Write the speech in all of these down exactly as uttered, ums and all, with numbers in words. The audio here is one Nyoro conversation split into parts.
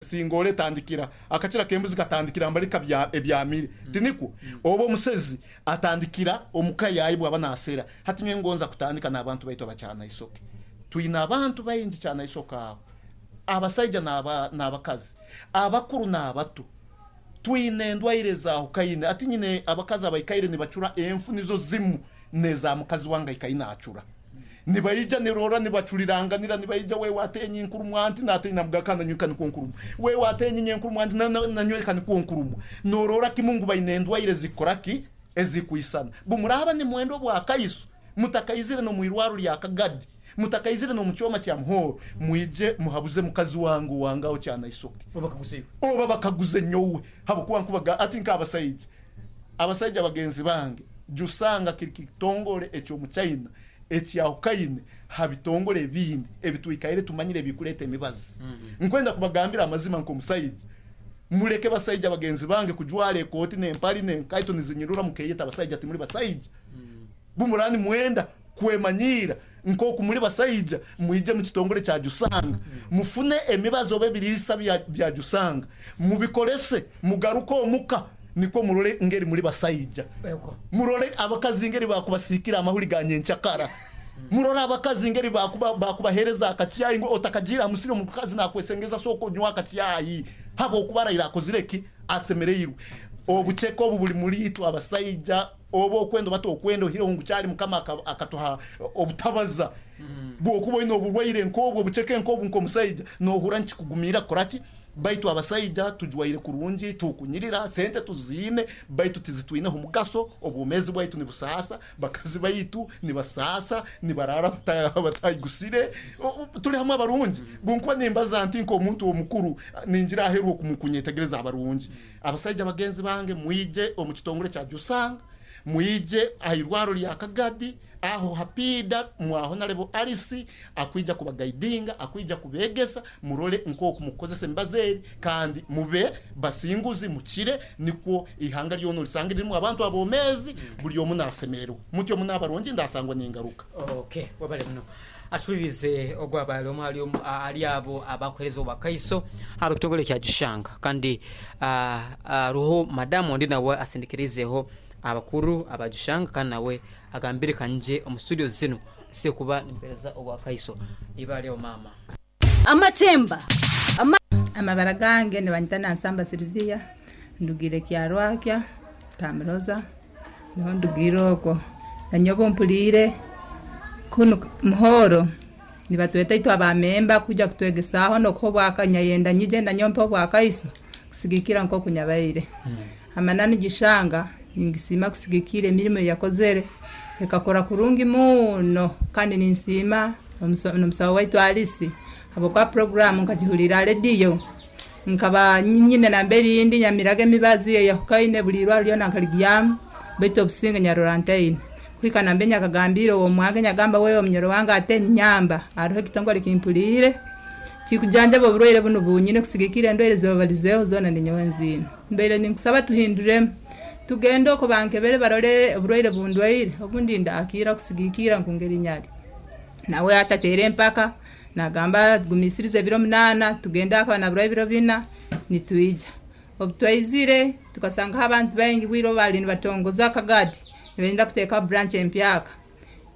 Singole etandikira akakira k'embuzi katandikira mbali kabya ebyamire tinikwo oba omusezi atandikira omuka yayi bwaba nasera. Hati nyowe ngonza kutandika n'abantu baitu abakyana isoke. Twine abantu baingi kyana isoke aho, abasaija n'aba- n'abakazi, abakuru n'abato. Twine endwaire zahukaine. Ati nyine abakazi abaikaire nibacura enfu nizo zimu neza mukazi wange aikaine acura, nibaija nirora nibacuriranganira, nibaija we watenye nkurumu anti natenya mugakanda nyweka nikwo nkurumu, we watenye nyenkurumu anti nanyweka nikwo nkurumu. Norora kimu ngu baine endwaire zikoraki ezikwisana. Bumuraba nimwenda obwakaiso, mutakaizire nomwirwaro lya Kagadi, mutakaizire nomukyoma kya Muhoro, mwije muhabuze mukazi wange wangaho kyana isoke oba bakaguze nyowe, habwokuba nkubaga ati nk'abasaija abasaija bagenzi bange jusanga kiri kitongole ekyomuchina ekyahukaine ha bitongole ebindi ebitwikaire tumanyire ebikuleta emibazi. Nkwenda kubagambira amazima nk'omusaija, muleke basaija bagenzi bange kujwara ekooti n'empali n'enkaito nizinyirura mukeyeta abasaija. Timuli basaija. Bumurani mwenda kwemanyiira nk'oku muri basaija, mwije mu kitongole kya Jusanga, mufune emibazi oba ebiriisa bya, bya Jusanga, mubikolese, mugaruke omuka nikwo murole ngeri muri basaija. Murole abakazi ngeri bakubasikira amahuri ga nyenkyakara, murole abakazi ngeri bakuba bakubahereza akacyayi ngo otakagira amusiri omukazi nakwesengeza soko nywa akacyayi habwokuba arayira akozire ki asemereirwe. Obuceke obu buli muri itwe abasaija, oba okwenda oba tokwenda ohireho ngu kyali Mukama akatuha obutabaza bwokuba oine oburwaire nk'obwo, obuceke nk'obu, nk'omusaija nohura nikikugumira kukoraki. Baitu abasaija tujwaire kurungi, tukunyirira, sente tuziine, baitu tizitwineho mugaso. Obwomezi bwaitu nibusaasa, bakazi baitu nibasaasa, nibarara batayigusire. Tuli hamwe abarungi. Bunkuba nimbaza nti nk'omuntu omukuru ningira aheru okunyetegereza abarungi. Abasaija bagenzi bange, mwije omu kitongole kya Jusanga, mwije airwaro lya Kagadi aho hapida mwaho nalebo Alisi akwija kubagaidinga, akwija kubegesa, murole nkoku mukozesa emibazi kandi mube basinguzi mukire, nikwo ihanga lyono lisange lirimu abantu abomezi buli omu nasemererwa mutyo muna abarungi ndasangwa ningaruka. Okay, wabale muno atulirize ogwabale omu ali ali abo abakuhereza obwakaiso abo kitongole kya Jushanga. Kandi uh, uh, madamu ondi nawe asindikirizeho abakuru abajushanga kandi nawe agambire kanje omu studio zino se kuba nimpereza obwakaiso ibale mama amatemba Ama amabara gange nibanyita Nsamba Silvia, ndugire Kyarwakya Kamiroza niho ndugire okwo. Nanyobo mpulire kunu Muhoro nibatweta itwe abamemba kuja kutwegesaho nokho bwakanya nyije nanyompa obwakaiso kusigikira nko kunyabaire hmm. Amanani Gishanga ningisima kusigikira emirimo yakozere ekakora kurungi muno, kandi ninsima omusawo waitu Alisi habwokuba programu nkagihulira rediyo nkaba nyine namberi indi nyamiraga emibazi eyahukaine buli irwaro lyona nkaligyamu, baitu obusinge nyarora ntaine kuhika nambe nyakagambire uwo mwange nyagamba wewe omunyoro wange ate nyamba hariho ekitongole kimpulire kikujanjaba oburwaire buno bunyine kusigikira endwaire zibabalizeho zona ninyowe nziine. Mbaire ninkusaba tuhinduremu tugende oko bankebere barole oburwaire bundwaire obundi ndakira kusigikira nkungeri nyali. Nawe atatere empaka nagamba gumisirize ebiro munana tugende akaba nabura ebiro bina nitwija. Obutwaizire tukasanga abantu baingi bwiro bali nibatongoza Kagadi nibenda kuteeka branch empyaka,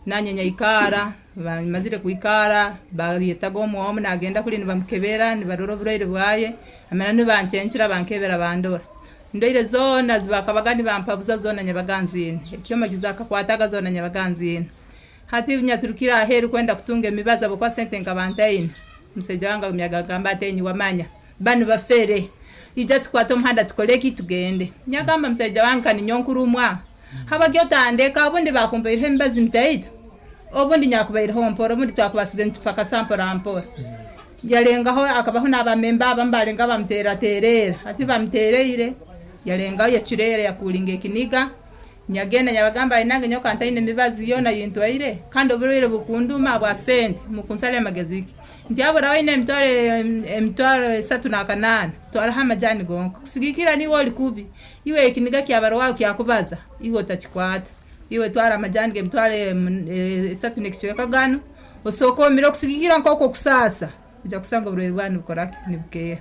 nanye nyaikara bamazire kuikara bayetaga omwomu nagenda kuli nibamukebera nibarora oburwaire bwaye amana nibancencera bankebera bandora ndwaire zona zibakabaga nibampabuza zona nyabaganzine ekyoma kizakakwataga zona nyabaganzine. Hati nyaturukira aheru kwenda kutunga emibazi abokwa sente nkabantaine museja wange myagagamba atenyi wamanya banu bafere ija tukwata omuhanda tukoleki tugende. Nyagamba museja wange kani nyonkurumwa habagyo tandeka obundi bakumpaireho emibazi mutaito obundi nyakubaireho mpora obundi twakubasize nitupakasa mpora mpora. Yalengaho akabaho n'abamemba abamu balenga bamuteraterera ati bamutereire yalengaho yacurera yakulinga ekiniga. Nyagenda nyabagamba inange nyoka ntaine emibazi yona yintwaire kandi oburwaire bukunduma bwa sente mukunsale amagezi ki nti abura waine emitwaro emitwaro esatu na kanana twaraho amajani gonka kusigikira niwe oli kubi iwe ekiniga kyabarwaho kyakubaza iwe otakikwata iwe twara amajani g'emitwaro esatu n'ekicweka gano osooka omire okusigikira nk'okwo kusasa ojja kusanga oburwaire bwanyu bukoraki nibukeera.